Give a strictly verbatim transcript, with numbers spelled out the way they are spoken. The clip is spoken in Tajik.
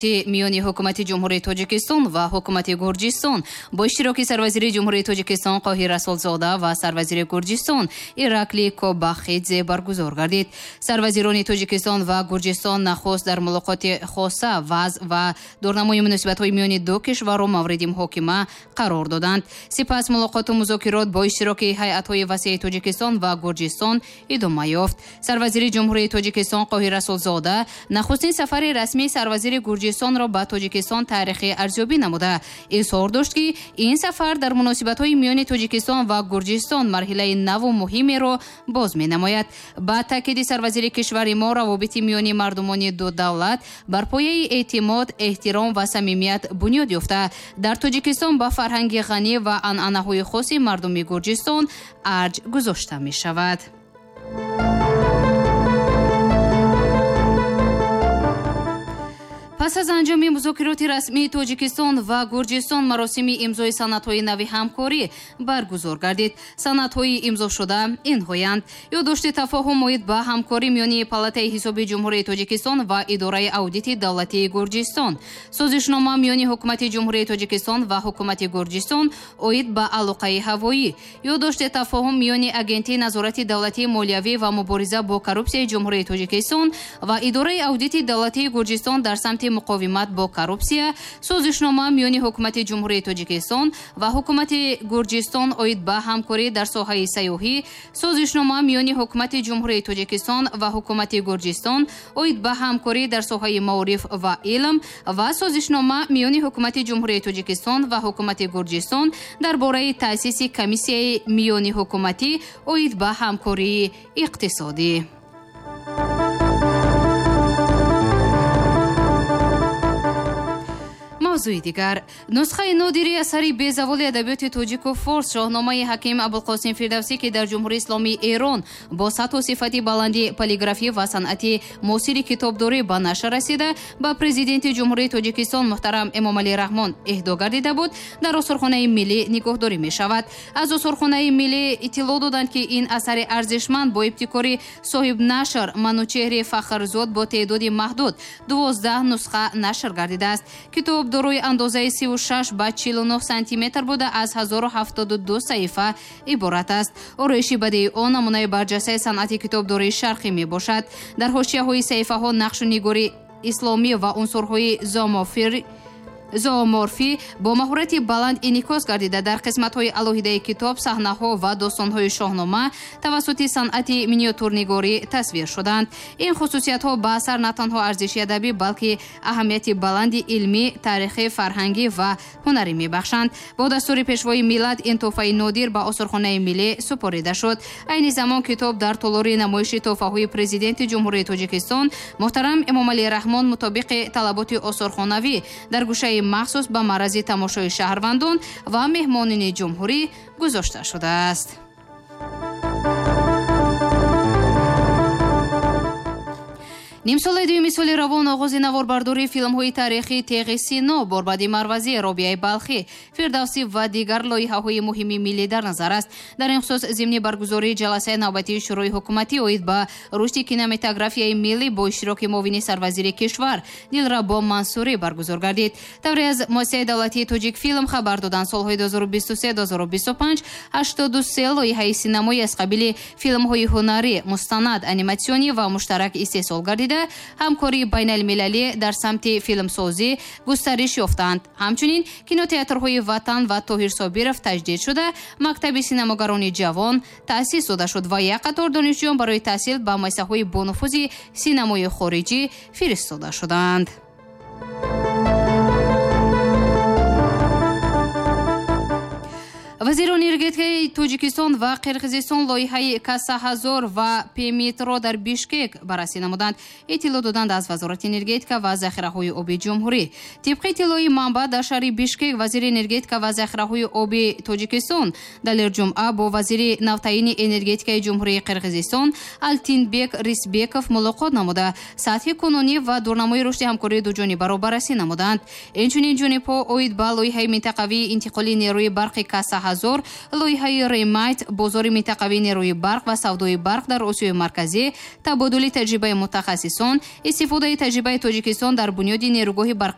Миёни ҳукумати Ҷумҳурии Тоҷикистон ва ҳукумати Гурҷистон бо иштироки сарвазири Ҷумҳурии Тоҷикистон Қоҳир Расулзода ва сарвазири Гурҷистон Ираклий Кобахидзе баргузор гардид. Сарвазирони Тоҷикистон ва Гурҷистон нахуст дар мулоқоти хоса вазъ ва дурнамои муносибатҳои миёни ду кишварро мавриди муҳокима қарор доданд. Сипас мулоқоту музокирот бо иштироки ҳайатҳои васеи Тоҷикистон ва Гурҷистон идома ёфт. Сарвазири Ҷумҳурии Тоҷикистон Қоҳир Расулзода нахустин сафари расмии сарвазири Гурҷистонро ба Тоҷикистон таърихӣ арзёбӣ намуда изҳор дошт, ки ин сафар дар муносибатҳои миёни Тоҷикистон ва Гурҷистон марҳилаи наву муҳимеро боз менамояд. Ба таъкиди сарвазири кишвари мо, равобити миёни мардумони ду давлат бар пояи эътимод, эҳтиром ва самимият бунёд ёфта, дар Тоҷикистон ба фарҳанги ғанӣ ва анъанаҳои хоси мардуми Гурҷистон арҷ гузошта мешавад. Пас аз анҷоми музокироти расмии Тоҷикистон ва Гурҷистон маросими имзои санадҳои нави ҳамкорӣ баргузор гардид. Санадҳои имзошуда инҳоянд: ёддошти тафоҳум оид ба ҳамкорӣ миёни Палатаи ҳисоби Ҷумҳурии Тоҷикистон ва Идораи аудити давлатии Гурҷистон, созишнома миёни Ҳукумати Ҷумҳурии Тоҷикистон ва Ҳукумати Гурҷистон оид ба алоқаи ҳавоӣ, ёддошти тафоҳум миёни Агентии назорати давлатии молиявӣ ва мубориза бо коррупсияи Ҷумҳурии Тоҷикистон ва Идораи аудити давлатии Гурҷистон дар самти муқовимат бо коррупсия, созишнома миёни Ҳукумати Ҷумҳурии Тоҷикистон ва Ҳукумати Гурҷистон оид ба ҳамкорӣ дар соҳаи сайёҳӣ, созишнома миёни Ҳукумати Ҷумҳурии Тоҷикистон ва Ҳукумати Гурҷистон оид ба ҳамкорӣ дар соҳаи маориф ва илм ва созишнома миёни Ҳукумати Ҷумҳурии Тоҷикистон ва Ҳукумати Гурҷистон дар бораи таъсиси комиссияи миёни ҳукуматӣ оид ба ҳамкории иқтисодӣ. Мавзӯи дигар: нусхаи нодири асари безаволи адабиёти тоҷику форс Шоҳномаи ҳаким Абулқосим Фирдавсӣ, ки дар Ҷумҳурии Исломии Эрон бо сатҳу сифати баланди полиграфӣ ва санъати муосири китобдорӣ ба нашр расида, ба Президенти Ҷумҳурии Тоҷикистон муҳтарам Эмомалӣ Раҳмон эҳдо гардида буд, дар осорхонаи миллӣ нигоҳдорӣ мешавад. Аз осорхонаи миллӣ иттилоъ доданд, ки ин асари арзишманд бо ибтикори соҳибнашр Манучеҳри Фахрзод бо теъдоди маҳдуд дувоздаҳ нусха нашр гардидааст. Китоб дорои андозаи сию шаш ба чилу нӯҳ сантиметр буда, аз ҳазору ҳафтоду ду саҳифа иборат аст. Ороиши бадии он намунаи барҷастаи санъати китобдории шарқӣ мебошад. Дар ҳошияҳои саҳифаҳо нақшу нигори исломӣ ва унсурҳои зооморфӣ зооморфӣ бо маҳорати баланд инъикос гардида, дар қисматҳои алоҳидаи китоб саҳнаҳо ва достонҳои Шоҳнома тавассути санъати миниатюрнигорӣ тасвир шуданд. Ин хусусиятҳо ба асар на танҳо арзиши адабӣ, балки аҳамияти баланди илмӣ, таърихӣ, фарҳангӣ ва ҳунарӣ мебахшанд. Бо дастури Пешвои миллат ин тӯҳфаи нодир ба осорхонаи миллӣ супорида шуд. Айни замон китоб дар толори намоиши тӯҳфаҳои Президенти Ҷумҳурии Тоҷикистон муҳтарам Эмомалӣ Раҳмон мутобиқи талаботи осорхонавӣ дар гӯшаи махсус ба маърази тамошои шаҳрвандон ва меҳмонони ҷумҳурӣ гузошта шудааст. Нимсолаи дуюми соли равон оғози наворбардории филмҳои таърихии Теғи Сино, Борбади Марвазӣ, Робиаи Балхӣ, Фирдавсӣ ва дигар лоиҳаҳои муҳими миллӣ дар назар аст. Дар ин хусус зимни баргузории ҷаласаи навбатии Шӯрои ҳукуматӣ оид ба рушди кинематографияи миллӣ бо иштироки муовини сарвазири кишвар Дилрабо Мансурӣ баргузор гардид. Тавре аз муассисаи давлатии Тоҷикфилм хабар доданд, солҳои ду ҳазору бисту се ду ҳазору бисту панҷ ҳаштоду се лоиҳаи синамоӣ аз қабили филмҳои ҳунарӣ, мустанад, аниматсионӣ ва муштарак истеҳсол гардид, ҳамкории байналмилалӣ дар самти филмсозӣ густариш ёфтанд. Ҳамчунин кинотеатрҳои Ватан ва Тоҳир Собиров таҷдид шуда, мактаби синамогарони ҷавон таъсис дода шуд ва як қатор донишҷӯён барои таҳсил ба муассисаҳои бонуфузи синамои хориҷӣ фиристода шуданд. Вазирони энергетикаи Тоҷикистон ва Қирғизистон лоиҳаи Каса ҳазор ва Пемитро дар Бишкек баррасӣ намуданд. Иттилоъ доданд аз Вазорати энергетика ва захираҳои оби ҷумҳурӣ. Тибқи иттилои манбаъ, дар шаҳри Бишкек вазири энергетика ва захираҳои оби Тоҷикистон Далер Ҷумъа бо вазири навтаъини энергетикаи Ҷумҳурии Қирғизистон Алтинбек Рисбеков мулоқот намуда, сатҳи кунунӣ ва дурнамои рушди ҳамкории дуҷонибаро баррасӣ намуданд. Инчунин ҷонибҳо оид ба лоиҳаи минтақавии интиқоли нерӯи барқи Каса ҳазор ҳазор, лоиҳаи РЕМАЙТ, бозори минтақавии нерӯи барқ ва савдои барқ дар Осиёи Марказӣ, табодули таҷрибаи мутахассисон, истифодаи таҷрибаи Тоҷикистон дар бунёди нерӯгоҳи барқи